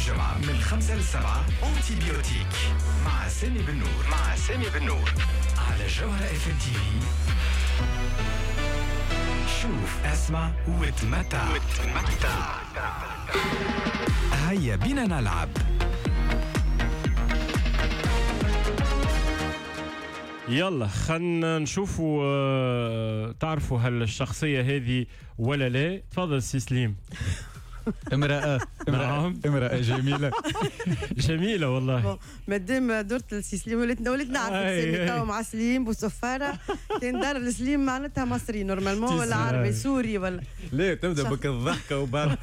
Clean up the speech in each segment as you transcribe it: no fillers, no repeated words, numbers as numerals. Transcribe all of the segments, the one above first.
جمعة من 5 ل 7 antibiotique مع سامي بالنور، مع سامي بالنور على جوهرة اف ام تي في. شوف، اسمع وتمتع، وتمتع. هيا بينا نلعب. يلا خلينا نشوفوا، تعرفوا هل الشخصية هذه ولا لا. تفضل سي سليم. امرأة، نعم. امرأة جميلة. جميلة والله. مادام درت لسي سليم وليت نعرف سامي توا مع سليم بوصفارة. كان دار لسليم معناتها مصري normalement ولا عربي سوري ولا لا، تبدا بك الضحكة وبعد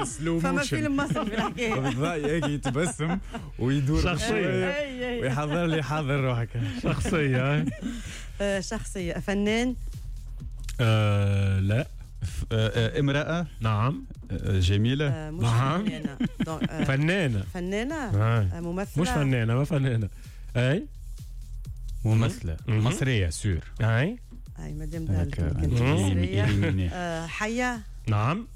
slow motion. فما فيلم مصري في الحكاية. هيك يتبسم ويدور شخصية ويحضر لي، حضر روحك. شخصية. شخصية. فنان؟ لا. امرأة؟ نعم. جميلة؟ مش نعم. فنانة. فنانة. فنانة؟ ممثلة؟ مش فنانة، ما فنانة. أي ممثلة مصرية sûr. أي أي مادام دارت كانت مصرية. حية؟ نعم.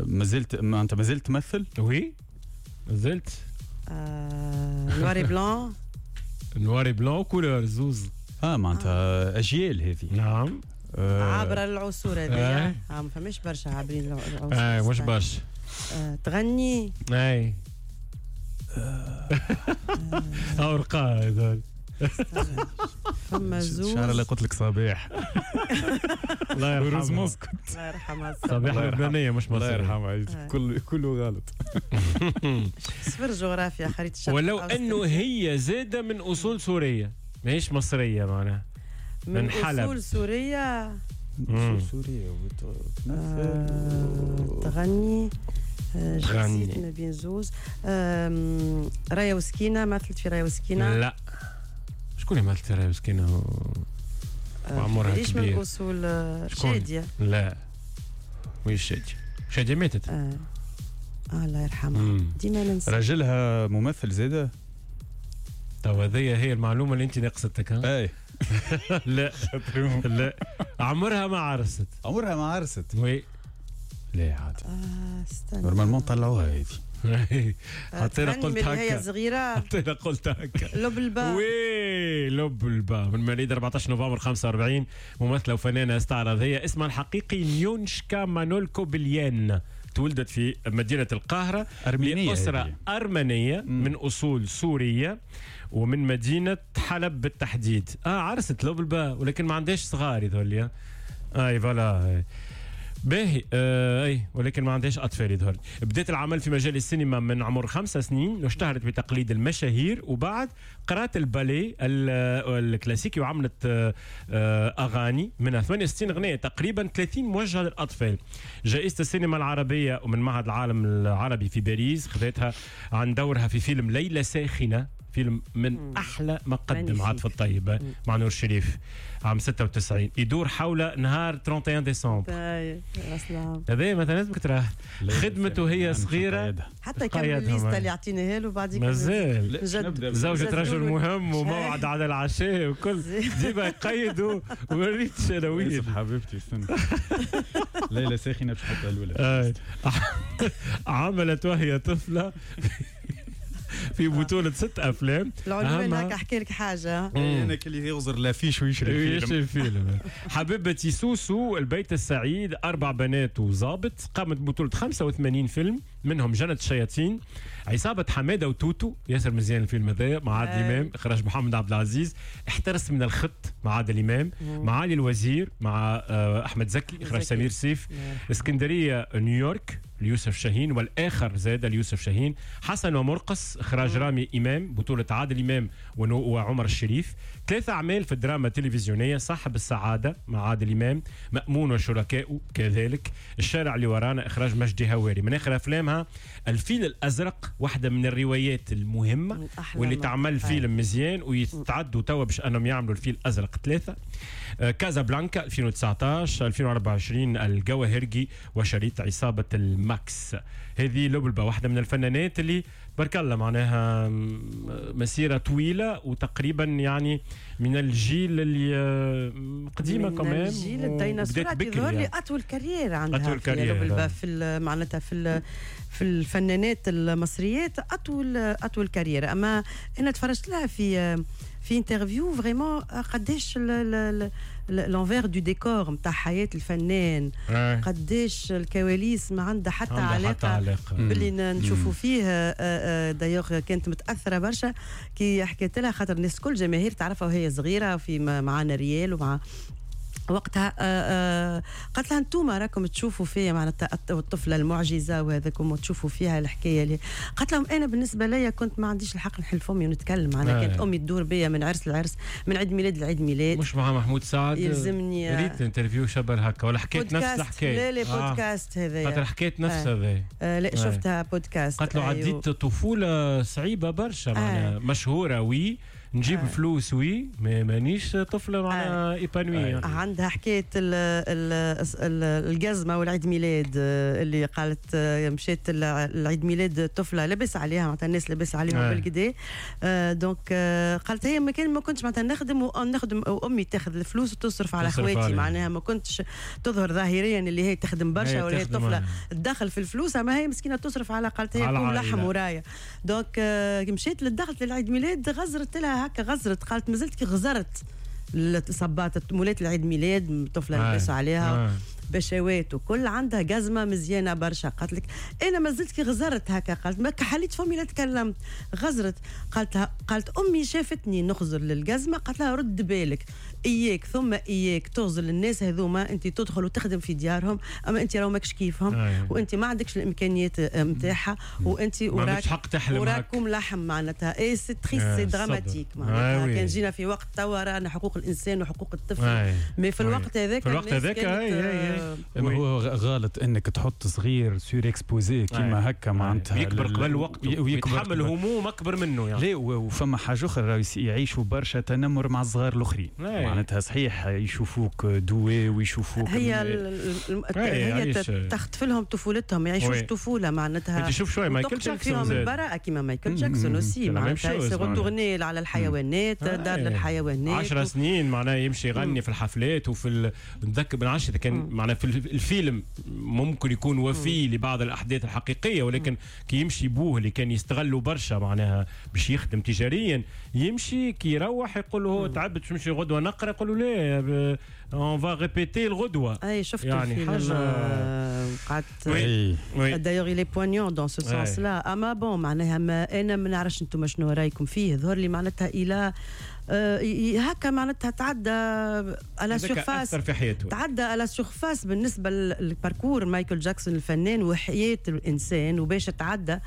مازلت، ما أنت مازلت تمثل؟ oui مازلت. noir et blanc. noir et blanc couleur زوز. معناتها أجيال هذه. نعم. عابرة العصور هذه. ما فماش برشا عابرين العصور. مش برشا. تغني؟ اي. أورقاء هذول. فما زوز. شعر اللي قلت لك صبيح. الله يرحمها. روز مسكت. الله يرحمها. صبيح لبنانية مش مصرية. الله يرحمها، كله غلط. صفر جغرافيا خريطة الشرق. ولو أنه هي زادة من أصول سورية، ماهيش مصرية معناها. من حلب. أصول سورية. أصول سورية وتمثل تغني. جنسيت ما بين زوز. رايا وسكينة، مثلت في رايا وسكينة؟ لا. شكون اللي مثلت في رايا وسكينة وعمرها كبير؟ ليش من أصول شادية؟ لا وين شادية؟ شادية ماتت. الله يرحمها. ديما ننسى. راجلها ممثل زادة؟ تو هذه هي المعلومة اللي أنت ناقصتك. ها؟ أي. لا لا، عمرها ما عرست. عمرها ما عرست. oui. لا عاد. استنى. normalement طلعوها هذه. حتى انا قلت هكا. هي صغيرة. حتى انا قلت هكا. لبلبة. oui لبلبة، من مواليد 14 نوفمبر 45، ممثلة وفنانة استعراضية. اسمها الحقيقي نيونشكا مانولكو بليان. تولدت في مدينة القاهرة. أرمينية. لأسرة أرمنية من أصول سورية ومن مدينة حلب بالتحديد. عرست لبلبة ولكن ما عندهاش صغار يظهر. اي voilà. باهي. اي ولكن ما عندهاش اطفال يظهر. بدات العمل في مجال السينما من عمر 5 سنين، واشتهرت بتقليد المشاهير، وبعد قرات الباليه الكلاسيكي وعملت اغاني منها 68 اغنية تقريبا، 30 موجهة للاطفال. جائزة السينما العربية ومن معهد العالم العربي في باريس خذتها عن دورها في فيلم ليلة ساخنة، فيلم من احلى ما قدم عاطف الطيب مع نور الشريف عام 96، يدور حول نهار 31 ديسمبر. هذا مثلا لازمك تراه. خدمته هي صغيرة حتى كمل الليستة اللي عطيناها له بعد مازال زوجة رجل مهم وموعد على العشاء وكل ديما يقيدوا وريتش انا وين حبيبتي استنى. ليلة ساخنة باش نحطها الاولى. عملت وهي طفله في بطولة 6 أفلام. العنوان هكا أحكي لك حاجة. أنا كلي يغزر l'affiche ويشري فيلم. يشري فيلم. حبيبتي سوسو، البيت السعيد، 4 بنات وظابط. قامت ببطولة 85 فيلم، منهم جنة الشياطين، عصابة حمادة وتوتو، ياسر مزيان الفيلم هذا مع عادل إمام، إخراج محمد عبد العزيز. احترس من الخط مع عادل إمام، معالي الوزير مع أحمد زكي، إخراج سمير سيف. اسكندرية نيويورك ليوسف شاهين، والآخر زاد ليوسف شاهين. حسن ومرقص إخراج رامي إمام، بطولة عادل إمام وعمر الشريف. 3 أعمال في الدراما التلفزيونية: صاحب السعادة مع عادل إمام، مأمون وشركائه كذلك، الشارع اللي ورانا إخراج مجدي هواري. من آخر أفلامها الفيل الأزرق، واحدة من الروايات المهمة واللي تعمل فيلم مزيان ويتعدوا توا باش أنهم يعملوا الفيل الأزرق 3. كازابلانكا 2019، 2024 الجواهرجي، وشريط عصابة الماكس. هذه لبلبه واحدة من الفنانات اللي بارك الله معناها مسيره طويلة، وتقريبا يعني من الجيل اللي قديمة كمان، من الجيل الديناصورات. يظهر لي اطول carrière عندها، أطول carrière لبلبه في معناتها في الفنانات المصريات، اطول carrière. اما انا تفرجت لها في interview، vraiment قداش l'envers du décor نتاع حياة الفنان، قداش الكواليس ما عندها حتى علاقة، حتى علاقة باللي نشوفوا فيه. d'ailleurs كانت متاثرة برشا كي حكيت لها، خاطر الناس كل جماهير تعرفها وهي صغيرة في معنا ريال ومع وقتها. قالت لها انتم راكم تشوفوا فيا معناتها الطفلة المعجزة وهذاكم وتشوفوا فيها الحكاية اللي قالت لهم انا بالنسبة لي كنت ما عنديش الحق نحل فمي ونتكلم، معناها كانت امي تدور بيا من عرس لعرس، من عيد ميلاد لعيد ميلاد. مش مع محمود سعد؟ يلزمني ريت interview شبه هكا ولا حكيت نفس الحكايه؟ لا لا، بودكاست هذا. خاطر حكيت نفس هذا. لا، شفتها بودكاست. قالت له عديت طفولة صعيبة برشا، معناها مشهورة oui، نجيب فلوس oui، mais مانيش طفله معناها épanouie. عندها حكاية الجزمة والعيد ميلاد، اللي قالت مشيت العيد ميلاد طفله لبس عليها، معناتها الناس لبس عليهم بالكدا، donc قالت هي ما كنتش معناتها نخدم ونخدم وامي تاخذ الفلوس وتصرف على خواتي، معناها ما كنتش تظهر ظاهريا اللي هي تخدم برشا ولا هي طفله تدخل في الفلوس، اما هي مسكينه تصرف على، قالت هي كوم لحم ورايا. donc مشيت للدخلت للعيد ميلاد، غزرت لها هكا غزرت، قالت مازلت كي غزرت صبات مولات العيد ميلاد، طفله لبسوا عليها بشوات وكل، عندها جزمه مزيانه برشا. قالت لك انا ما زلت كي غزرت هكا، قالت ما حليت فمي لا تكلمت، غزرت. قالت قالت امي شافتني نخزر للجزمه، قالت لها رد بالك، اياك ثم اياك تغزر للناس هذوما، انت تدخل وتخدم في ديارهم، اما انت راهو ماكش كيفهم وانت ما عندكش الامكانيات نتاعها وانت وراك حق تحلم. وراكم لحم معناتها. et c'est triste، c'est dramatique. معناتها كان جينا في وقت توا رانا حقوق الانسان وحقوق الطفل، mais في الوقت هذاك في الوقت هذاك هو غلط انك تحط صغير surexposé كيما هكا معناتها. يكبر قبل وقته ويتحمل هموم اكبر منه يعني. لا، وفما حاجة اخرى، يعيشوا برشا تنمر مع الصغار الاخرين. معناتها صحيح يشوفوك doué ويشوفوك هي تخطف لهم طفولتهم، ما يعيشوش طفولة معناتها. انت شوف شوية مايكل جاكسون فيهم البراءة كيما مايكل جاكسون aussi، معناتها s'est retourné على الحيوانات، دار للحيوانات. 10 سنين معناها يمشي يغني في الحفلات وفي نتذكر بن عشرة كان معناها في الفيلم ممكن يكون وفي لبعض الاحداث الحقيقيه، ولكن كي يمشي بوه اللي كان يستغلوا برشا معناها باش يخدم تجاريا، يمشي كي يروح يقول له تعبت باش نمشي غدوه نقرا، يقول له لا، on va répéter الغدوه. اي شفت يعني الفيلم حاجة قعدت، d'ailleurs il est poignant dans ce sens-là. اما bon معناها ما انا ما نعرفش انتم شنو رايكم فيه. ظهر لي معناتها الى هكا معناتها تعدى à la surface في حياته، تعدى à la surface بالنسبة لل parcours مايكل جاكسون الفنان وحياه الانسان وباش تعدى.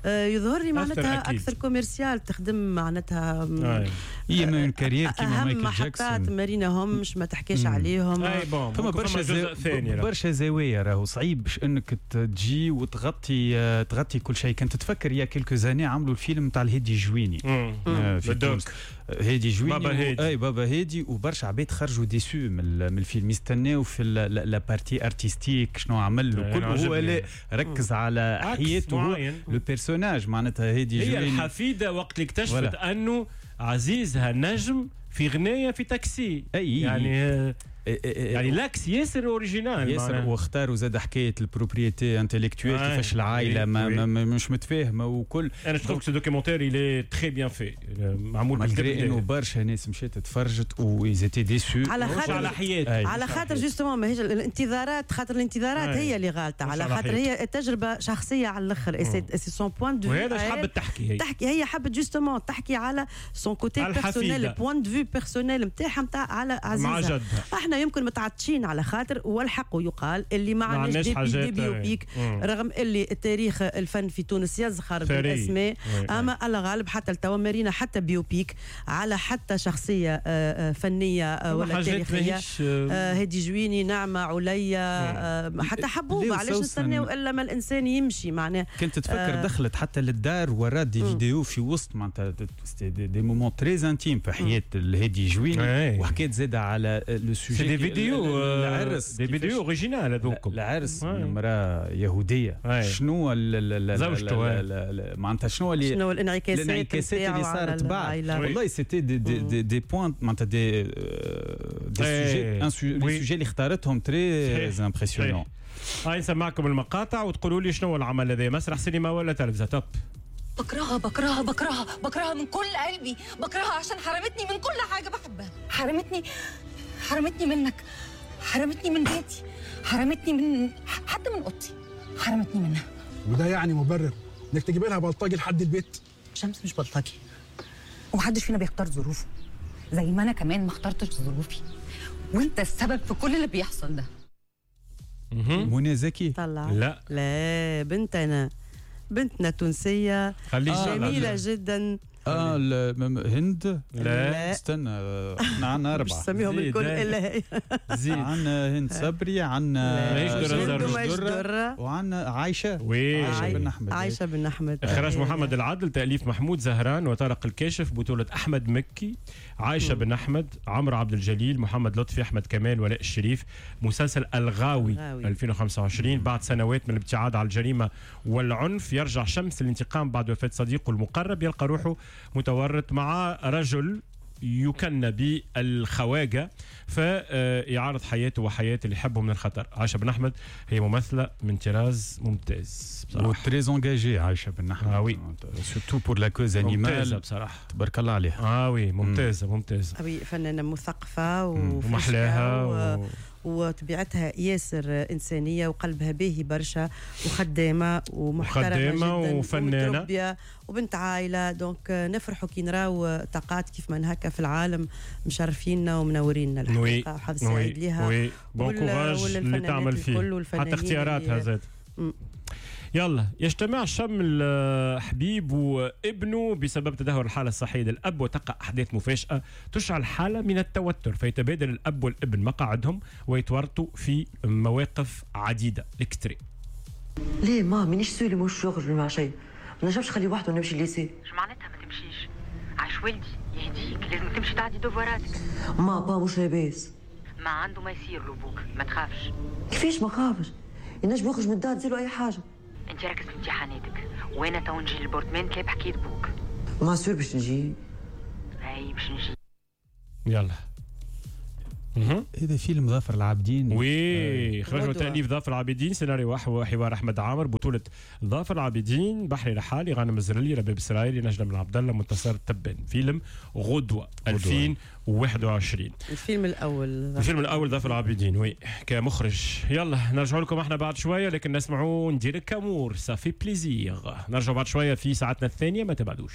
يظهر لي معناتها اكثر commercial تخدم معناتها. هي من carrière كيما مايكل جاكسون محطات ما ريناهمش، ما تحكيش عليهم. فما برشا برشا زوايا، راهو صعيب باش انك تجي وتغطي تغطي كل شيء. كنت تفكر il y a quelques années عملوا الفيلم تاع الهادي جويني في تونس، هادي جويني بابا هادي. اي بابا هادي، وبرشا عباد خرجوا déçus من الفيلم، يستناو في la partie artistique شنو عمل وكل، هو لا، ركز على حياته le personnage معناتها هادي جويني. هي الحفيده وقت اللي اكتشفت انه عزيزها نجم في غنايه في تاكسي. أي يعني l'axe ياسر original. ياسر، واختاروا زاد حكاية ال propriété intellectuelle، كيفاش العائلة ما مش متفاهمه وكل. انا je ce documentaire il est très bien fait، معمول malgré انه برشا ناس مشات تفرجت و ils étaient déçus. على خاطر على حياته، على خاطر justement ماهيش الانتظارات، خاطر الانتظارات هي اللي غالطه، على خاطر هي تجربه شخصية على الاخر، c'est son point de vue. وهذا حبت تحكي هي، تحكي هي حبت justement تحكي على son côté personnel، point de vue personnel نتاعها نتاع على عزيزها. احنا يمكن متعطشين على خاطر، والحق يقال اللي ما عندناش des biopics، رغم اللي التاريخ الفن في تونس يزخر بالاسماء، اما على غالب حتى التوا ما رينا حتى biopic على حتى شخصية فنية ولا تاريخيه. هادي جويني، نعمه عليا، حتى حبوبه، علاش نستناو الا ما الانسان يمشي معناه. كنت تفكر دخلت حتى للدار ورات des vidéos في وسط معناتها des moments très intimes في حياة الهادي جويني، وحكيت زاد على le sujet. des vidéos، العرس des vidéos originales هذوك. العرس من امراة يهوديه، شنو زوجته معناتها، شنو اللي شنو الانعكاسات الانعكاسات اللي صارت بعد. والله c'était des points، معناتها des sujets، les sujets اللي اختارتهم très impressionnants. هاي نسمعكم المقاطع وتقولوا لي شنو العمل هذا، مسرح، سينما ولا تلفزه. top. بكرهها بكرهها بكرهها بكرهها من كل قلبي، بكرهها عشان حرمتني من كل حاجة بحبها، حرمتني، حرمتني منك، حرمتني من بيتي، حرمتني من حتى من اوضتي، حرمتني منها. وده يعني مبرر انك تجيب لها بلطجي لحد البيت؟ شمس مش بلطجي، ومحدش فينا بيختار ظروفه، زي ما انا كمان ما اخترتش ظروفي، وانت السبب في كل اللي بيحصل ده. منى زكي؟ طلع. لا. لا، بنتنا، بنتنا تونسية جميلة جدا. اه، هند؟ لا. استنى، احنا عندنا اربعه. سميهم الكل الا هي. زيد. عندنا هند صبري، عندنا ماهيش درة، وعندنا عايشه. oui. عايشه بن احمد. عايشه بن احمد. اخراج محمد العدل، تاليف محمود زهران وطارق الكاشف، بطوله احمد مكي، عايشه بن احمد، عمرو عبد الجليل، محمد لطفي، احمد كمال، ولاء الشريف. مسلسل الغاوي 2025. بعد سنوات من الابتعاد على الجريمة والعنف، يرجع شمس للانتقام بعد وفاه صديقه المقرب، يلقى روحه متورط مع رجل يكنى بالخواجة، فيعرض حياته وحياة اللي يحبه من الخطر. عائشة بن أحمد هي ممثلة من طراز ممتاز بصراحة، و très engagée عائشة بن أحمد. اه oui. surtout pour la cause animale. ممتازة بصراحة. تبارك الله عليها. اه oui، ممتازة ممتازة. oui، فنانة مثقفة. ومحلاها وطبيعتها ياسر إنسانية وقلبها باهي برشا وخدامة ومحترمة. وخدامة جدا وفنانة. ومتربية وبنت عائلة، donc نفرحوا كي نراو طاقات كيف من هكا في العالم مشرفينا ومنورينا الحقيقة. حظ سعيد ليها. oui، bon courage اللي تعمل فيه، حتى اختياراتها زاد. يلا، يجتمع شمل حبيب وابنه بسبب تدهور الحالة الصحية للأب، وتقع أحداث مفاجئة تشعل حالة من التوتر، فيتبادل الأب والابن مقاعدهم ويتورطوا في مواقف عديدة. l'extrait. ليه ما مانيش sûre مش يخرج مع شيء، ما نجمش نخليه وحده ونمشي lycée. اش معناتها ما تمشيش؟ عاش ولدي يهديك، لازم تمشي تعدي devoir اتك. ما با مش لاباس. ما عنده ما يصير له بوك، ما تخافش. كيفاش ما خافش؟ ينجم يخرج من الدار تصير اي حاجه. انت ركز في امتحاناتك وانا تو نجي لل appartement تلاقي بحكاية بوك. ما sûr باش نجي؟ اي باش نجي. يلا. هذا فيلم ظافر العابدين. oui، اخراج وتاليف ظافر العابدين، سيناريو وحوار احمد عامر، بطوله ظافر العابدين، بحري رحالي، غانم الزرلي، رباب السرايري، نجلة بن عبد الله، منتصر تبان. فيلم غدوه 2021. الفيلم الاول. الفيلم الاول ظافر العابدين oui كمخرج. يلا نرجع لكم احنا بعد شويه، لكن نسمعوا ندير كامور ça fait plaisir. نرجع بعد شوية في ساعتنا الثانيه، ما تبعدوش.